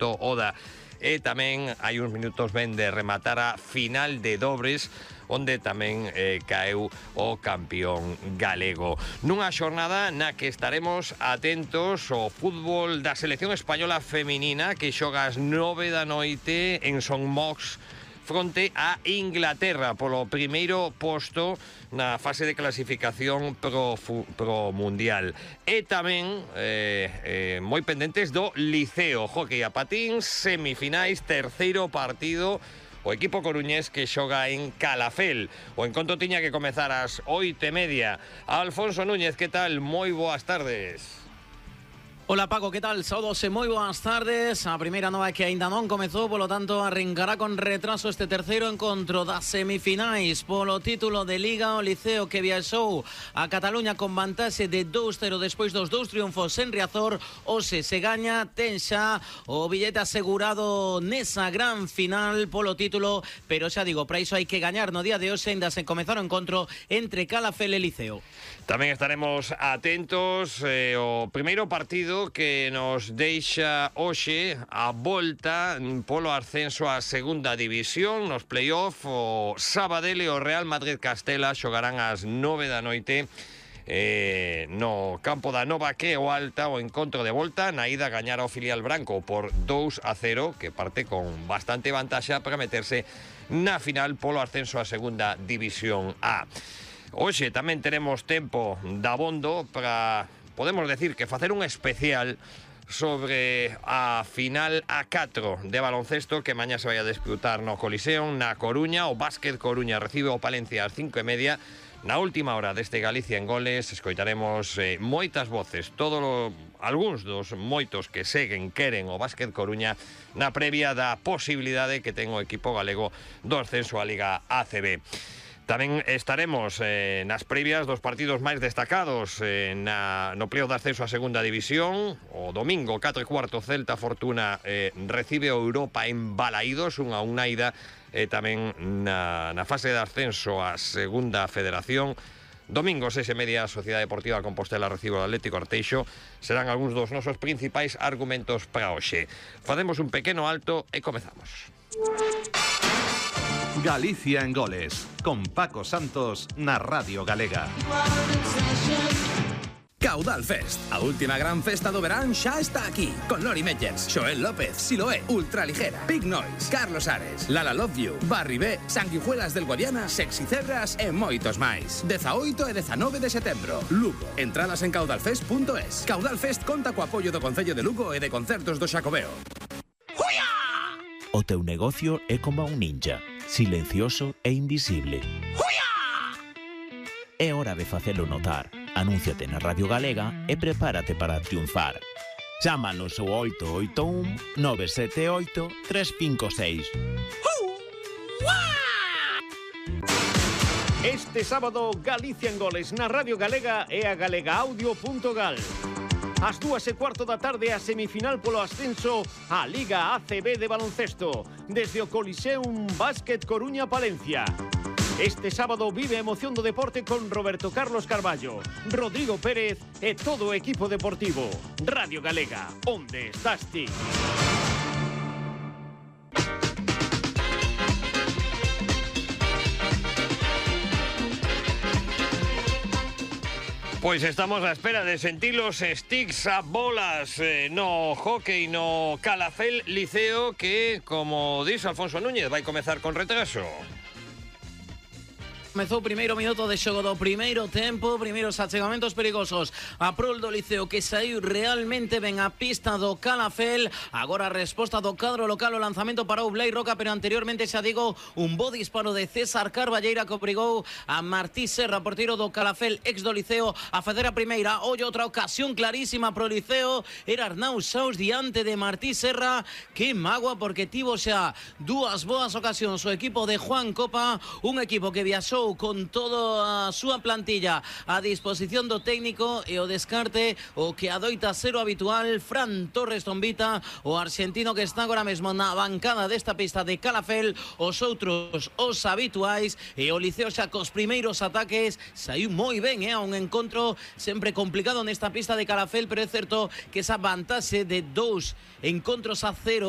Alberto Oda. E tamén hai uns minutos ben de rematar a final de dobres, onde tamén caeu o campeón galego. Nunha xornada na que estaremos atentos ao fútbol da selección española feminina, que xoga ás 9 da noite en Son Mox fronte a Inglaterra polo primeiro posto na fase de clasificación pro Mundial. E tamén moi pendentes do Liceo, hockey a patín, semifinais, terceiro partido, o equipo coruñés que xoga en Calafell. O encontro tiña que comezar ás 8:30. Alfonso Núñez, que tal? Moi boas tardes. Hola Paco, que tal? Saudos e moi boas tardes. A primeira nova que aínda non comezou, polo tanto arrancará con retraso este terceiro encontro das semifinais polo título de Liga. O Liceo que viaxou a Cataluña con vantaxe de 2-0 despois dos 2 triunfos en Riazor. Hoxe se gaña, ten xa o billete asegurado nesa gran final polo título, pero xa digo, para iso hai que gañar no día de hoxe, ainda sen comezar o encontro entre Calafell e Liceo. Tamén estaremos atentos ao primeiro partido que nos deixa hoxe a volta polo ascenso á segunda división. Nos play-off, o Sabadell e o Real Madrid Castela xogarán ás 9 da noite no campo da Nova, que o Alta, o encontro de volta. Na ida gañar ao filial branco por 2-0, que parte con bastante vantaxa para meterse na final polo ascenso á segunda división A. Hoxe tamén teremos tempo dabondo para, podemos decir, que facer un especial sobre a final A4 de baloncesto que mañá se vai a disputar no Coliseum, na Coruña. O Básquet Coruña recibe o Palencia ás 5:30. Na última hora deste Galicia en Goles escoitaremos moitas voces, algúns dos moitos que seguen queren o Básquet Coruña na previa da posibilidade que ten o equipo galego do ascenso á Liga ACB. Tamén estaremos nas previas dos partidos máis destacados no pleo de ascenso a segunda división. O domingo, 4:15, Celta Fortuna recibe o Europa en Balaídos, unha ida, tamén na fase de ascenso a segunda federación. Domingo, 6:30, Sociedade Deportiva Compostela recibe o Atlético Arteixo. Serán algúns dos nosos principais argumentos para hoxe. Facemos un pequeno alto e comezamos. Galicia en Goles, con Paco Santos na Radio Galega. Caudal Fest, a última gran festa do verán xa está aquí, con Lori Meyers, Xoel López, Siloé, Ultraligera, Big Noise, Carlos Ares, Lala Love You, Barry B, Sanguijuelas del Guadiana, Sexy Cebras e moitos máis. 18 e 19 de setembro, Lugo. Entradas en caudalfest.es. Caudal Fest conta co apoio do Concello de Lugo e de Concertos do Xacobeo. O teu negocio é como un ninja, silencioso e invisible. É hora de facelo notar. Anúnciate na Radio Galega e prepárate para triunfar. Chámanos ao 881 978 356. Este sábado, Galicia en Goles na Radio Galega e a galegaaudio.gal. Ás 2:15 da tarde, a semifinal polo ascenso á Liga ACB de baloncesto, desde o Coliseum Básquet Coruña Palencia. Este sábado vive a emoción do deporte con Roberto Carlos Carballo, Rodrigo Pérez e todo o equipo deportivo. Radio Galega, onde estás ti? Pois estamos á espera de sentir os sticks a bolas no hockey no Calafell Liceo, que, como dixo Alfonso Núñez, vai comezar con retraso. Comezou o primeiro minuto de xogo do primeiro tempo, primeiros achegamentos perigosos a prol do Liceo, que saiu realmente ben a pista do Calafell. Agora a resposta do cadro local, o lanzamento para o Blai Roca, pero anteriormente xa digo, un bo disparo de César Carballeira que obrigou a Martí Serra, porteiro do Calafell, ex do Liceo, a facer a primeira. Ollo, outra ocasión clarísima pro Liceo, era Arnau Saus diante de Martí Serra. Que mágoa, porque tivo xa dúas boas ocasións o equipo de Juan Copa, un equipo que viaxou con toda a súa plantilla a disposición do técnico, e o descarte o que adoita ser o habitual, Fran Torres Tombita, o arxentino que está agora mesmo na bancada desta pista de Calafell. Os outros, os habituais, e o Liceo xa cos primeiros ataques saiu moi ben, a un encontro sempre complicado nesta pista de Calafell, pero é certo que esa vantaxe de 2 encontros a 0